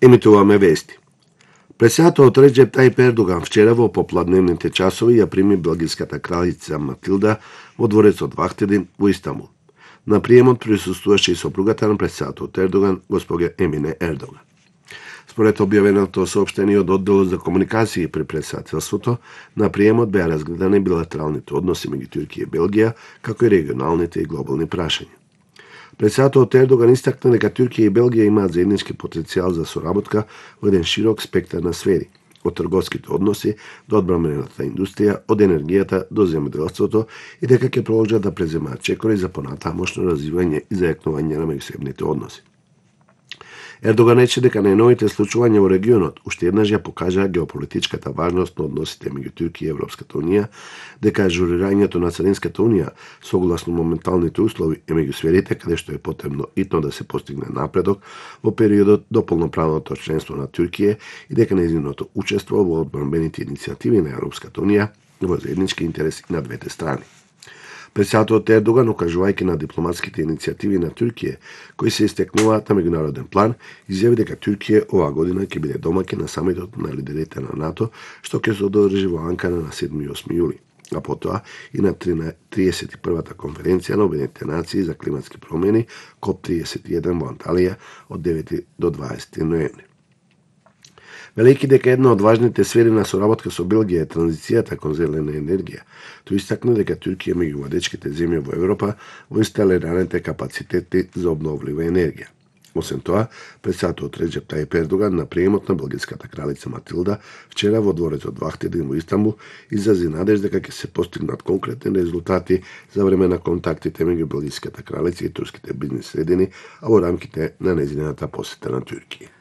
Емитуваме вести. Председателот Реџеп Тајип Ердоган вчера во попладневните часови ја прими белгиската кралица Матилда во дворецот Вахтедин во Истанбул. На приемот присуствуваше и сопругата на председателот Ердоган, госпоѓа Емине Ердоган. Според објавеното соопштение од одделот за комуникации при председателството, на приемот беа разгледани билатералните односи меѓу Турција и Белгија, како и регионалните и глобални прашања. Председателот Ердоган истакна дека Турција и Белгија имаат заеднички потенцијал за соработка во еден широк спектар на сфери, од трговските односи до одбранбената индустрија, од енергијата до земјоделството и дека ќе продолжат да преземаат чекори за понатамошно развивање и зајакнување на меѓусебните односи. Ердоган рече дека најновите случувања во регионот уште еднаш ја покажаа геополитичката важност на односите меѓу Турција и Европската унија, дека ажурирањето на Царинската унија согласно моменталните услови е меѓу сферите каде што е потребно итно да се постигне напредок во периодот до полноправното членство на Турција и дека нејзиното учество во одбранбените иницијативи на Европската унија во заеднички интерес и на двете страни. Председателот Ердоган, укажувајќи на дипломатските иницијативи на Турција, кои се истекнуваат на меѓународен план, изјави дека Турција оваа година ќе биде домаќин на самитот на лидерите на НАТО, што ќе се одржи во Анкара на 7 и 8 јули, а потоа и на 31-та конференција на Обединетите нации за климатски промени КОП-31 во Анталија од 9 до 20 ноември. Велејќи дека една од важните сфери на соработка со Белгија е транзицијата кон зелена енергија, тој истакна дека Турција меѓу водечките земји во Европа во инсталираните капацитети за обновлива енергија. Освен тоа, председателот Реџеп Тајип Ердоган на приемот на белгиската кралица Матилда вчера во дворецот Вахтедин во Истанбул изрази надежда дека ќе се постигнат конкретни резултати за време на контактите меѓу белгиската кралица и турските бизнис средини, а во рамките на нејзината посета на Турција.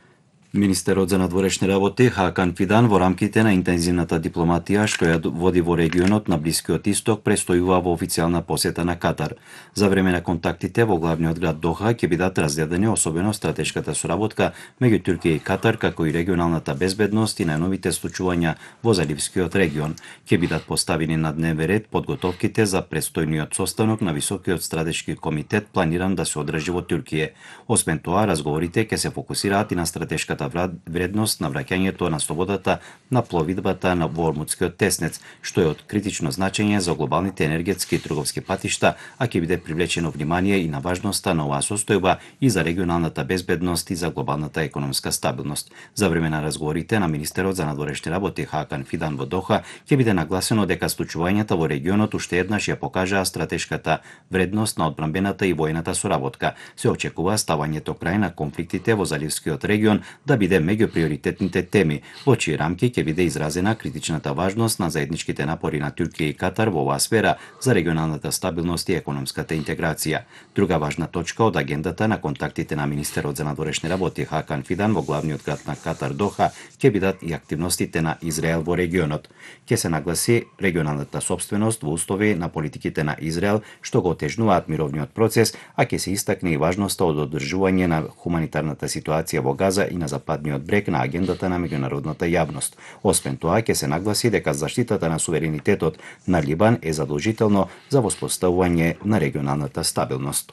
Министерот за надворешни работи Хакан Фидан во рамките на интензивната дипломатија што ја води во регионот на Блискиот Исток престојува во официјална посета на Катар. За време на контактите во главниот град Доха ќе бидат разгледани особено стратешката соработка меѓу Турција и Катар, како и регионалната безбедност и најновите случувања во Заливскиот регион. Ќе бидат поставени на дневен ред подготовките за престојниот состанок на Високиот стратешки комитет планиран да се одржи во Турција. Освен тоа, разговорите ќе се фокусираат и на стратешката вредност на враќањето на слободата на пловидбата во Ормудскиот теснец, што е од критично значење за глобалните енергетски и трговски патишта, а ќе биде привлечено внимание и на важноста на оваа состојба и за регионалната безбедност и за глобалната економска стабилност. За време на разговорите на министерот за надворешни работи Хакан Фидан во Доха ќе биде нагласено дека случувањата во регионот уште еднаш ја покажаа стратешката вредност на одбранбената и војната соработка. Се очекува ставањето крај на конфликтите во Заливскиот регион да биде меѓу приоритетните теми, во чии рамки ќе биде изразена критичната важност на заедничките напори на Турција и Катар во оваа сфера за регионалната стабилност и економската интеграција. Друга важна точка од агендата на контактите на министерот за надворешни работи Хакан Фидан во главниот град на Катар Доха ќе бидат и активностите на Израел во регионот. Ќе се нагласи регионалната собственост во услови на политиките на Израел што го отежнуваат мировниот процес, а ќе се истакне и важноста од одржување на хуманитарната ситуација во Газа и на Западниот брег на агендата на меѓународната јавност. Освен тоа, ќе се нагласи дека заштитата на суверенитетот на Либан е задолжително за воспоставување на регионалната стабилност.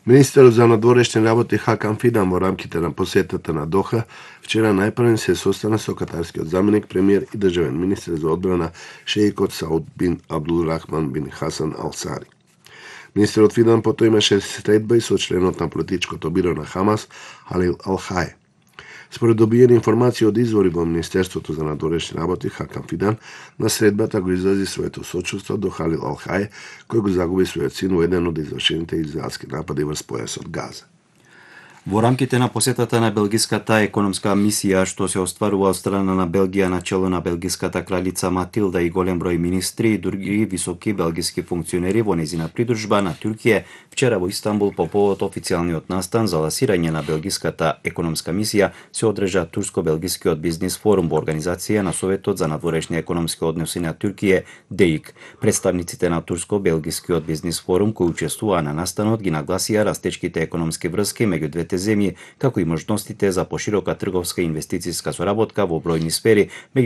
Министерот за надворешни работи Хакан Фидан во рамките на посетата на Доха вчера најпрвен се состана со катарскиот заменик премиер и државен министер за одбрана шеикот Сауд бин Абдулрахман бин Хасан Ал Сари. Министерот Фидан потоа имаше средба и со членот на политичкото биро на Хамас Халил Ал Хај. Според добиени информации од извори во Министерството за надворешни работи Хакан Фидан, на средбата го изрази своето сочувство до Халил Ал Хај, кој го загуби својот син во еден од извршените израелски напади врз појасот Газа. Во рамките на посетата на белгиската економска мисија што се остварува од страна на Белгија на чело на белгиската кралица Матилда и голем број министри и други високи белгиски функционери во нејзина придружба на Турција, вчера во Истанбул по повод официјалниот настан за ласирање на белгиската економска мисија се одржа Турско-белгискиот бизнис форум во организација на Советот за надворешни економски односи на Турција ДЕИК. Представниците на Турско-белгискиот бизнис форум кои учествуваа на настанот ги нагласија растечките економски врски меѓу двете земји, како и можностите за поширока трговска и инвестициска соработка во бројни сфери, меѓу